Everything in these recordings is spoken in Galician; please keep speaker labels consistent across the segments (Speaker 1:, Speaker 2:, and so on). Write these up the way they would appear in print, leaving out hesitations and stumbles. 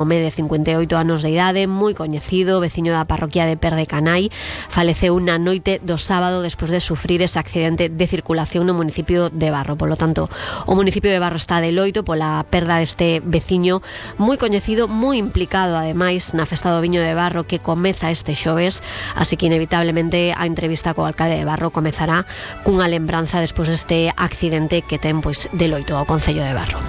Speaker 1: home de 58 anos de idade, moi coñecido, veciño da parroquia de Perdecanai, faleceu na noite do sábado despois de sufrir ese accidente de circulación no municipio de Barro. Polo tanto, o municipio de Barro está de loito pola perda deste veciño moi coñecido, moi implicado ademais na festa do viño de Barro que comeza este xoves, así que inevitablemente a entrevista co alcalde de Barro comezará cunha lembranza despois deste accidente que ten pois de loito ao concello de Barro.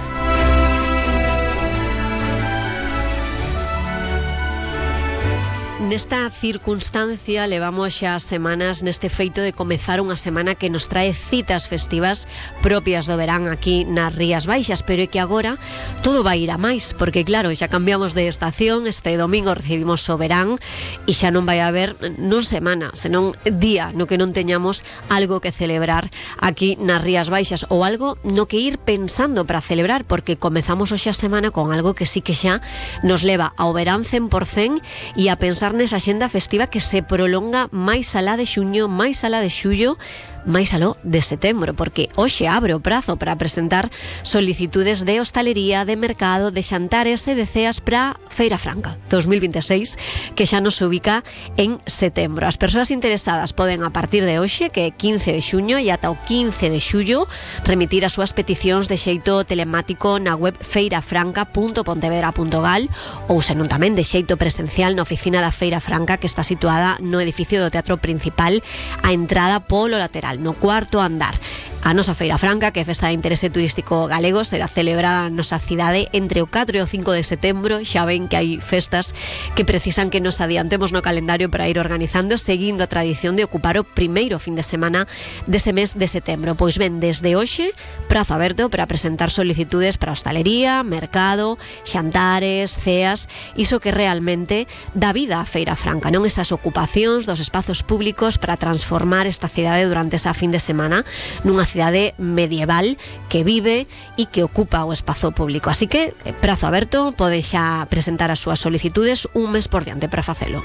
Speaker 1: Nesta circunstancia levamos xa semanas neste feito de comezar unha semana que nos trae citas festivas propias do verán aquí nas Rías Baixas, pero é que agora todo vai ir a máis, porque claro, xa cambiamos de estación, este domingo recibimos o verán e xa non vai haber non semana, senón día no que non teñamos algo que celebrar aquí nas Rías Baixas ou algo no que ir pensando para celebrar, porque comezamos hoxe a semana con algo que sí que xa nos leva ao verán 100% e a pensar nesa axenda festiva que se prolonga máis alá de xuño, máis alá de xullo, máis aló de setembro, porque hoxe abre o prazo para presentar solicitudes de hostalería, de mercado, de xantares e de ceas para Feira Franca 2026, que xa nos ubica en setembro. As persoas interesadas poden a partir de hoxe, que é 15 de xuño, e ata o 15 de xullo, remitir as súas peticións de xeito telemático na web feirafranca.pontevedra.gal ou senón tamén de xeito presencial na oficina da Feira Franca, que está situada no edificio do Teatro Principal, a entrada polo lateral, no cuarto andar. A nosa Feira Franca, que é festa de interese turístico galego, será celebrada na nosa cidade entre o 4 e o 5 de setembro. Xa ven que hai festas que precisan que nos adiantemos no calendario para ir organizando, seguindo a tradición de ocupar o primeiro fin de semana dese mes de setembro. Pois ben, desde hoxe, prazo aberto para presentar solicitudes para hostalería, mercado, xantares, ceas, iso que realmente dá vida á Feira Franca, non esas ocupacións dos espazos públicos para transformar esta cidade durante esa fin de semana nunha cidade medieval que vive e que ocupa o espazo público. Así que, prazo aberto, pode xa presentar as súas solicitudes un mes por diante para facelo.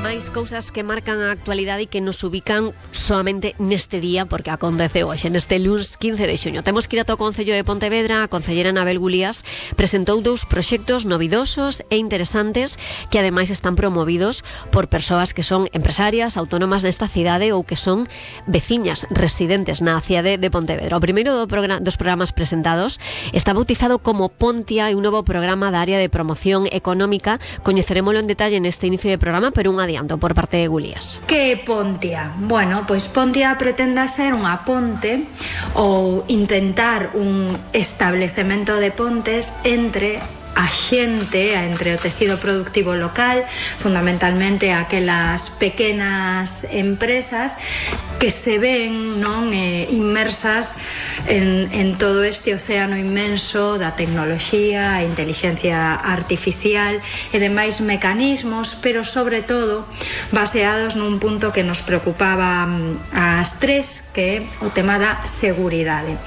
Speaker 1: Máis cousas que marcan a actualidade e que nos ubican solamente neste día, porque acontece hoxe, neste luns 15 de xuño. Temos que ir ata o Concello de Pontevedra. A concelleira Anabel Gulías presentou dous proxectos novidosos e interesantes que ademais están promovidos por persoas que son empresarias, autónomas nesta cidade ou que son veciñas residentes na cidade de Pontevedra. O primeiro dos programas presentados está bautizado como Pontia, e un novo programa da área de promoción económica. Coñecerémolo en detalle neste inicio de programa, pero un adianto por parte de Gulías.
Speaker 2: Que é Pontia? Bueno, pois Pontia pretende ser unha ponte ou intentar un establecemento de pontes entre a xente, entre o tecido productivo local, fundamentalmente aquelas pequenas empresas que se ven inmersas en todo este océano inmenso da tecnoloxía, a intelixencia artificial e demais mecanismos, pero sobre todo baseados nun punto que nos preocupaba ás tres, que é o tema da seguridade.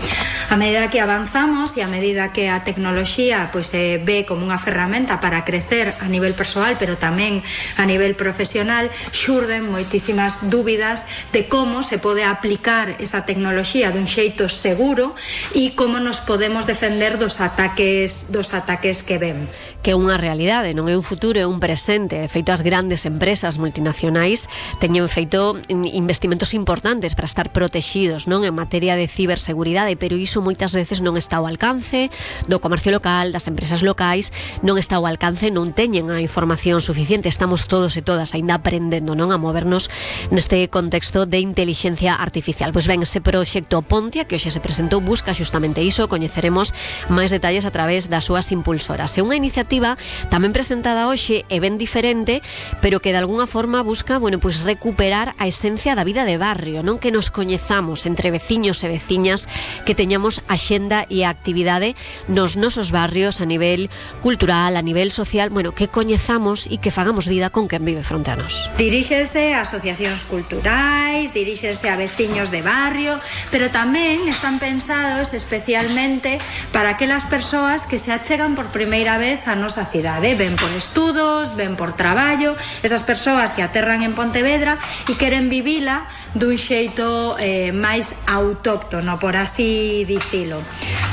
Speaker 2: A medida que avanzamos e a medida que a tecnoloxía pois se ve como unha ferramenta para crecer a nivel persoal, pero tamén a nivel profesional, xurden moitísimas dúbidas de como se pode aplicar esa tecnoloxía dun xeito seguro e como nos podemos defender dos ataques que ven.
Speaker 1: Que é unha realidade, non é un futuro, é un presente. De feito, as grandes empresas multinacionais teñen feito investimentos importantes para estar protexidos, non, en materia de ciberseguridade, pero iso moitas veces non está ao alcance do comercio local, das empresas locais, non está ao alcance, non teñen a información suficiente. Estamos todos e todas aínda aprendendo, non, a movernos neste contexto de inteligencia artificial. Pois ben, ese proxecto Pontia, que hoxe se presentou, busca xustamente iso. Coñeceremos máis detalles a través das súas impulsoras. É unha iniciativa tamén presentada hoxe e ben diferente, pero que de alguna forma busca, pois recuperar a esencia da vida de barrio, non, que nos coñezamos entre veciños e veciñas, que teñamos a xenda e a actividade nos nosos barrios a nivel cultural, a nivel social, que coñezamos e que fagamos vida con quen vive fronte a nos.
Speaker 2: Diríxense a asociacións culturais, diríxense a veciños de barrio, pero tamén están pensados especialmente para aquelas persoas que se achegan por primeira vez a nosa cidade. Ven por estudos, ven por traballo, esas persoas que aterran en Pontevedra e queren vivila dun xeito máis autóctono, por así dicilo.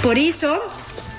Speaker 2: Por iso,